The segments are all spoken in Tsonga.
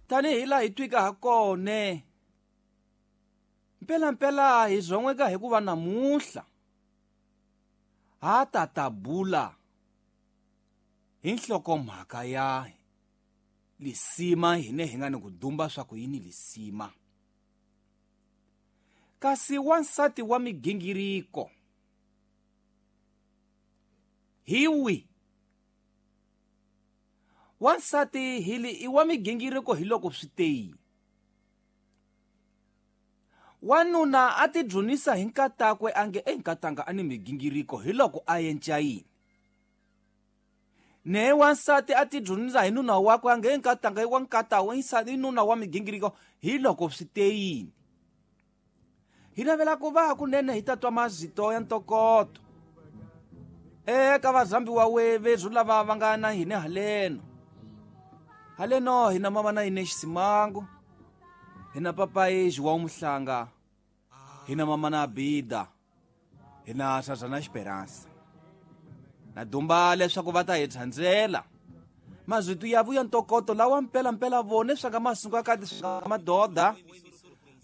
Tanihi laha hi twika ha kone, mpelampela hi zon'weka hikuva namuntlha ha ta ta bula hi nhlokomhaka ya lisima hine hi nga ni ku dumba swa ku yini lisima. Kasi wansati wa migingiriko hi wi wansati hili i wa migingiriko hi loko swi te. Wanuna a tidzunisa hi nkatakwe a nge enkatanga a ni migingiriko hi loko a yenca yini. Ne wansati a tidzunisa hi nuna wakwe a nge enkatanga i wa nkatawe i nuna wa migingiriko hi loko swi te yini. Hi navela ku va kunene hi ta twa mazito ya ntokoto eka vazambiwa wevezu lava va nga na hina haleno. Haleno hina mama na hina Xisimango, hina papayi João Muhlanga, hina mama na Bida, hina Sazana Esperança. Na dumba leswaku va ta hi tsandzela mazito ya vuya ntokoto lawa mpelampela vone swa nga masungu ka swa madoda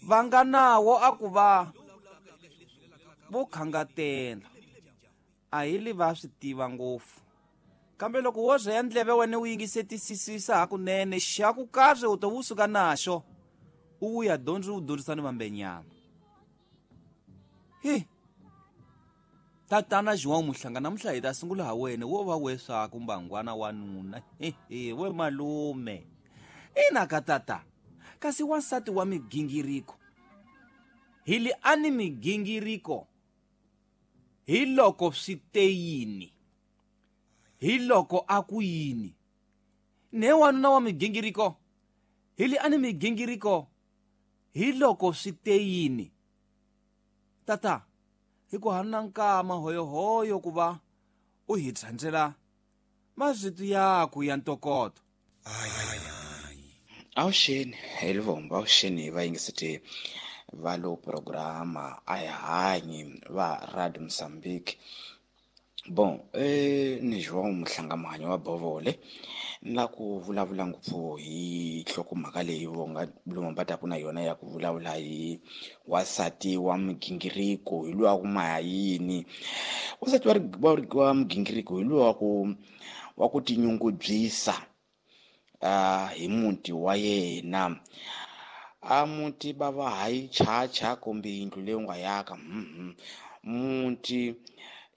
va nga nawo a ku va vo khangatela. A hi li va swi tiva ngopfu, kambe loko wo ze ya ndleve wena u yingisetisisa hakunene xa ku kahle u to vusuka naxo u vuya dyondzi u dyondzisa ni vambenyana. Hi tatana João Muhlanga, namuntlha hi ta sungula ha wena wo va we swaku mbangwana wa nuna. Hehe, we malume ina ka tata. Kasi wansati wa migingiriko hi li a ni migingiriko hi loko swi te yini, hi loko a ku yini. Ne wanuna wa migingiriko hi li a ni migingiriko hi loko swi te yini. Tata, hi ku hana nkama hoyohoyo ku va u hi tsandzela mazito yaku ya ntokoto. Avuxeni hi Livombo, avuxeni vayingiseti va lo programa a hi hanyi va Radio Mozambique. Bon, ni João Muhlanga Muhanyi wa Bovole. Ni la ku vulavula ngopfu hi nhlokomhaka leyi vo nga Lumumba taku na yona ya ku vulavula hi wansati wa migingiriko hi luwa ku maha yini. Wansati wa migingiriko hi luwa wa ku tinyungubyisa hi muti wa yena. A muti bava hayi chacha kumbe yindlu leyi u nga yaka. Muti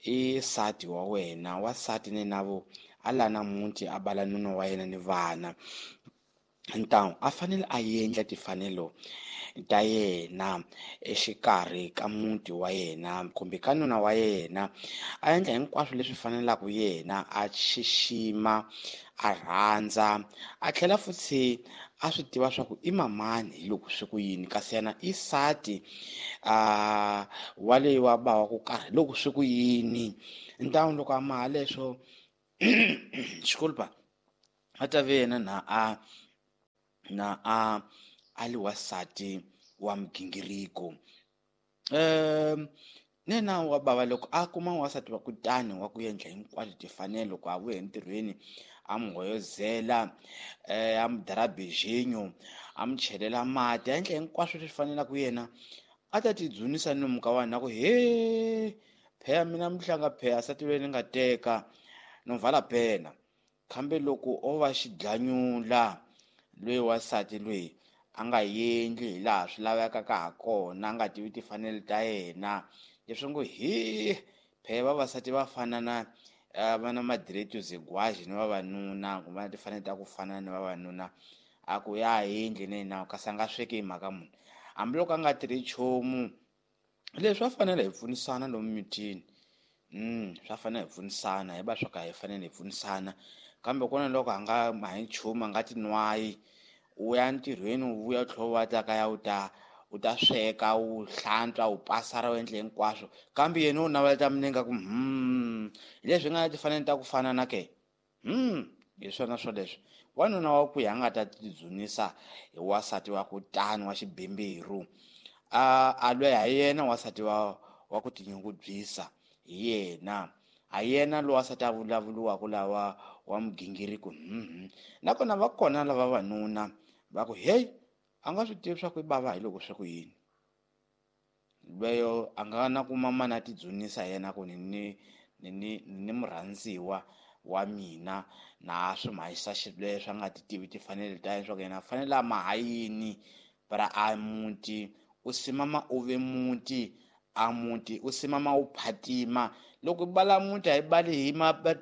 i nsati wa wena, wansati ni navo a lana muti a bala nuna wa yena ni vana. Ntamu a fanele a endla timfanelo ta yena exikarhi ka muti wa yena kumbe ka nuna wa yena, a endla hinkwaswo leswi fanelaka yena, a xixima, a rhandza, a tlhela futhi a swi tiva swa ku i mamani hi loko swi ku yini, kasi yena i nsati wa leyi wa ba wa ku karhi loko swi ku yini. Ntamu loko a maha leswo xikolpa a ta ve yena na a na a a li wansati wa migingiriko. Nena wa bava loko a kuma wansati wa kutani wa ku endla hinkwato timfanelo loko a vuya entirhweni a n'wi hoyozela, a n'wi dara beijinho, a n'wi chelela mati, a endla hinkwaswo leswi fanelaka yena, a ta tidzunisa ni muka wa yena ku he pheya mina Muhlanga pheya nsati loyi ni nga teka no vala pena. Kambe loko o va xidlanyula loyi wansati loyi a nga endli hi laha swi lavekaka ha kona, a nga tivi timfanelo ta yena, leswi ngo he pheya vavasati va fana na va na madireto zegwaji ni vavanuna, kumbe na timfanelo ta ku fana ni vavanuna, a ku ya endli na yena kasi a nga sweki hi mhaka munhu hambiloko a nga tirhi nchumu. Leswi swa fanela hi pfunisana lomu mitini. Swa fanela hi pfunisana, hi va swa ka hi fanele hi pfunisana, kambe kona loko a nga mahi nchumu, a nga tinwayi, u ya ntirhweni u vuya u tlhela u va ta kaya u ta sweka, u hlantswa, u pasara, u endla hinkwaswo, kambe yena u navela ta minenge ku hi leswi nga na timfanelo ta ku fana na ke. Hi swona swoleswo. Wanuna wa ku ya nga ta tidzunisa hi wansati wa ku tani wa xibemberu, a lweha hi yena wansati wa ku tinyungubyisa hi yena, ha yena lowa wansati a vulavuriwaka lawa wa migingiriko. Nakona va kona lava vavanuna Va ku hey, a nga swi tivi swa ku i bava hi loko swi ku yini. Lweyo a nga na ku mamana a tidzunisa yena ku ni murhandziwa wa mina na swi mhayisa xileswo a nga ti tivi timfanelo ta yena swa ku yena a fanele a maha yini para a muti u simama u ve muti a muti u simama u phatima. Loko bala muti a hi bali hi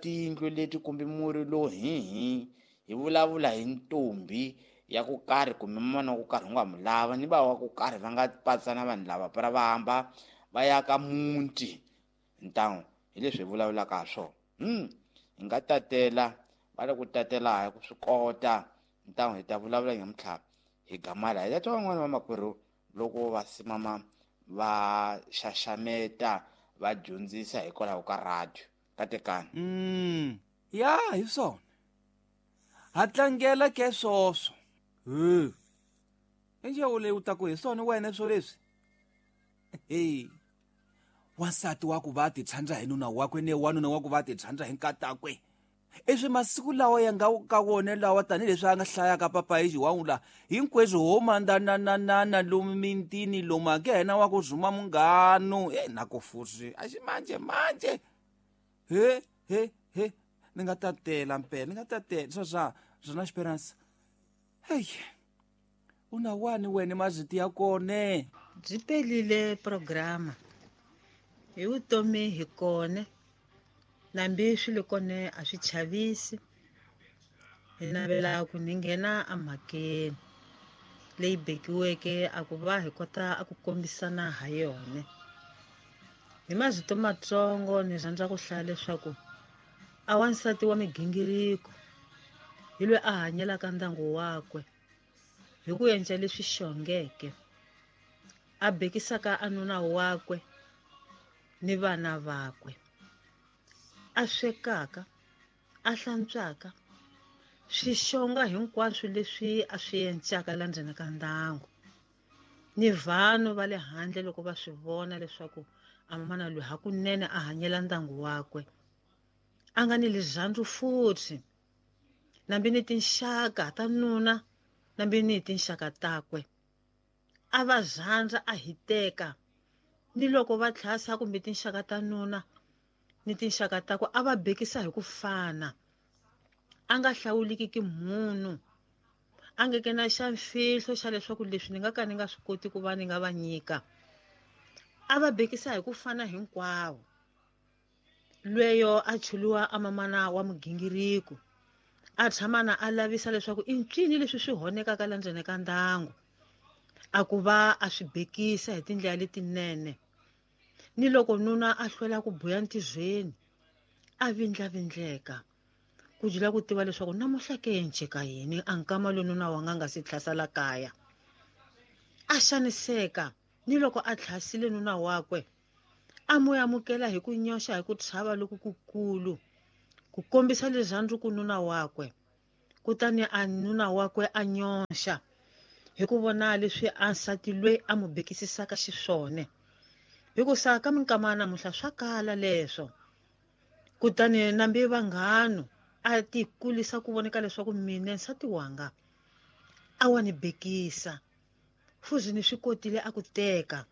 tiyindlu leti kumbe muri lowu hi vulavula hi ntombi ya ku karhi kumbe mana wa ku karhi u nga mu lava ni va wa ku karhi va nga patsana vanhu lava para va hamba va ya ka muti ntangu hi leswi hi vulavulaka ha swona. Hi nga tatela va le ku tatela hi ku swi kota ntangu hi ta vulavula nyamuntlha hi gamala hi ta twa van'wana va makwerhu loko va simama va xaxameta va dyondzisa hikwalaho ka radio katekani. Ya hi swona ha tlangela ke swoswo enje leyi u ta ku hi swona wena swo leswi hey wansati wa ku va ti tshandza hi nuna wakwe ne wanuna wa ku va ti tshandza hi nkatakwe eswi masiku lawa ya nga ka wona lawa tanihileswi a nga hlayaka papa hi xiwawula hinkweswo ho mandananana lomu mintini lomu a ke yena wa ku zuma munghano e na ku fusi a xi manje manje he he he ni nga tatela mpela ni nga tatela swa swa swona Esperance. Hey una wani wena maziti ya kone byi pelile programa hi vutomi hi kone nambi swi le kone a swi chavisi hi navela ku ni nghena emhakeni leyi bekiweke a ku va hi kota a ku kombisana ha yona. Hi mazito matsongo ni rhandza ku hlaya leswaku a wansati wa migingiriko hi loyi a hanyelaka ndyangu wakwe hi ku endla leswi xongeke a bekisaka a nuna wakwe ni vana vakwe a swekaka a hlantswaka swixonga hinkwaswo leswi a swi endlaka la ndzeni ka ndyangu ni vanhu va le handle loko va swi vona leswaku a mamana loyi hakunene a hanyela ndyangu wakwe a nga ni lirhandzu futhi nambi ni tinxaka ta nuna nambi ni tinxaka takwe a va rhandza a hiteka ni loko va tlhasa kumbe tinxaka ta nuna ni tinxaka takwe a va bekisa hi ku fana a nga hlawuliki ki munhu a nge ke na xa mfihlo xa leswaku leswi ni nga ka ni nga swi koti ku va ni nga va nyika a va bekisa hi ku fana hinkwavo. Lweyo a chuliwa a mamana wa mugingiriko a tshamana a lavisa leswaku i ncini leswi swi honekaka la ndzeni ka ndyangu a ku va a swi bekisa hi tindlela letinene ni loko nuna a hlwela ku buya ntirhweni a vindlavindleka ku jula ku tiva leswaku namuhla ke nceka yini a nkama loyi nuna wa nga nga si tlhasela kaya a xaniseka ni loko a tlhasile nuna wakwe a mu amukela hi ku nyoxa hi ku chava loku kukulu ku kombisa rirhandzu ku nuna wakwe kutani a nuna wakwe a nyoxa hi ku vona leswi a nsati loyi a mu bekisisaka xiswona hikusa ka minkama ya namuntlha swa kala leswo. Kutani nambi vanghano a ti kulisa ku voneka leswaku mina nsati wanga a wa ni bekisa fuzi ni swi kotile a ku teka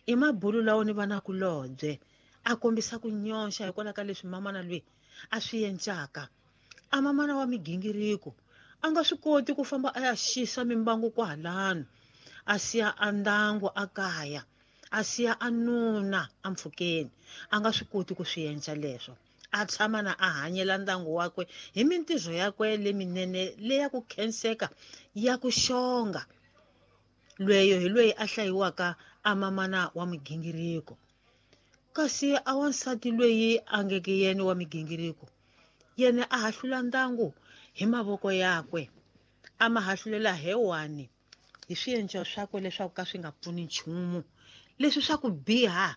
i mabulu lawo ni vana kulobye a kombisa ku nyoxa hikwalaho ka leswi mamana loyi a swi encaka a mamana wa migingiriko a nga swi koti ku famba a ya xisa mimbangu kwahalano a siya a ndangu a kaya a siya a nuna a mpfhukeni a nga swi koti ku swi endla leswo a tshama na a hanyela ndyangu wakwe hi mintirho yakwe leminene leya ku khenseka ya ku xonga. Lweyo hi loyi a hlayiwaka a mamana wa migingiriko kasi a wansati loyi a ngeke yena wa migingiriko yena a hahlula ndyangu hi mavoko yakwe a ma hahlulela hewani hi swiendlo swakwe leswaku ka swi nga pfuni nchumu leswi swa ku biha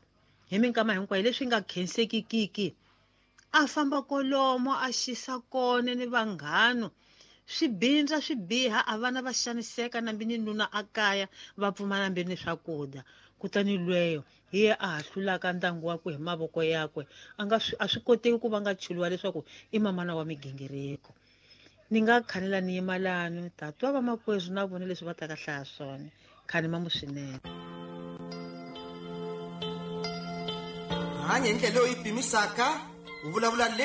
hi minkama hinkwayo leswi nga khensekikiki a famba kolomo a xisa kone ni vanghano swi bindza swi biha a vana va xaniseka nambi ni nuna a kaya va pfumala nambi ni swakudya kutani lweyo hi ye a hahlulaka ndyangu wakwe hi mavoko yakwe a nga a swi koteki ku va nga chuliwa leswaku i mamana wa migingiriko. Ni nga khanela ni yima lano ta twa vamakwezwi na vona leswi va taka hlaya swona. Khani mamu swinene. Hanya hi ndlela leyi u yi pimisaka, u vulavula leswi.